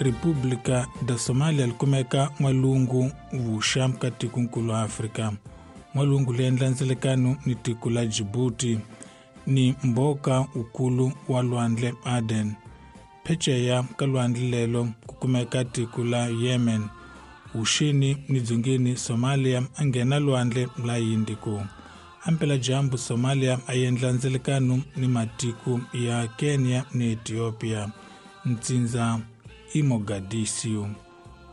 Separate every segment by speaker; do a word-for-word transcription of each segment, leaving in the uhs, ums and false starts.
Speaker 1: República da Somália li kumeka n'walungu vuxa ka tikonkulu Afrika. N'walungu li endla ndzelekano ni tiko la Djibouti ni mboka ukulu wa lwandle Aden. Pheceya ka lwandle lelo ku kumeka tiko la Yemen. Vuxeni ni dzongeni Somalia a nghena lwandle la Indico. Ampela-dyambu Somalia a endla ndzelekano ni matiko ya Kenya ni Ethiopia. Ntsindza i Mogadishu.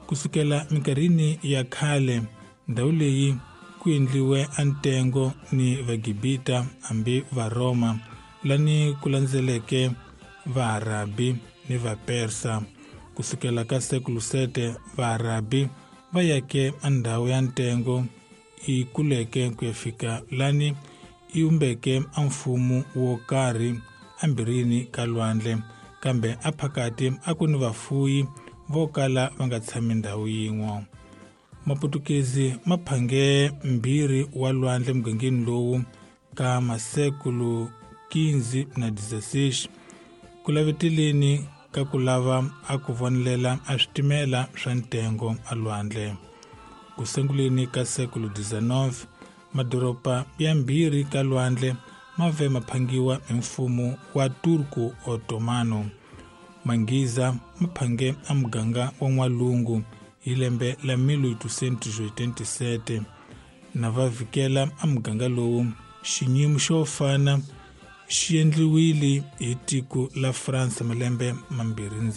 Speaker 1: Kusukela minkarhini ya khale ndhawu leyi ku endliwe antengo ni Vagibita hambi Varoma lani ku landzeleke Vaarabi ni Vapersa. Kusukela ka sekulu sete Vaarabi va yake andhawu ya ntengo i kuleke ku ya fika lani i umbeke a mfumo wo karhi ambirini ka lwandle, kambe a phakati a ku ni vafuyi vo kala va nga tshami ndhawu yin'we. Maputukezi ma phange mbirhi wa lwandle mugangeni lowu ka masekulu quinze na dezesseis ku laveteleni ka ku lava a ku vonelela a switimela swa ntengo a lwandle. Ku sunguleni ka sekulu dezenove madoroba ya mbirhi ka lwandle ma ve ma phangiwa hi mfumo wa Turku Ottomano. Manghiza ma phange a muganga wa n'walungu hi lembe la mil oitocentos oitenta e sete na va vikela a muganga lowu. Xiyimo xo fana xi endliwile hi tiko la France malembe mambirhi ndzhaku.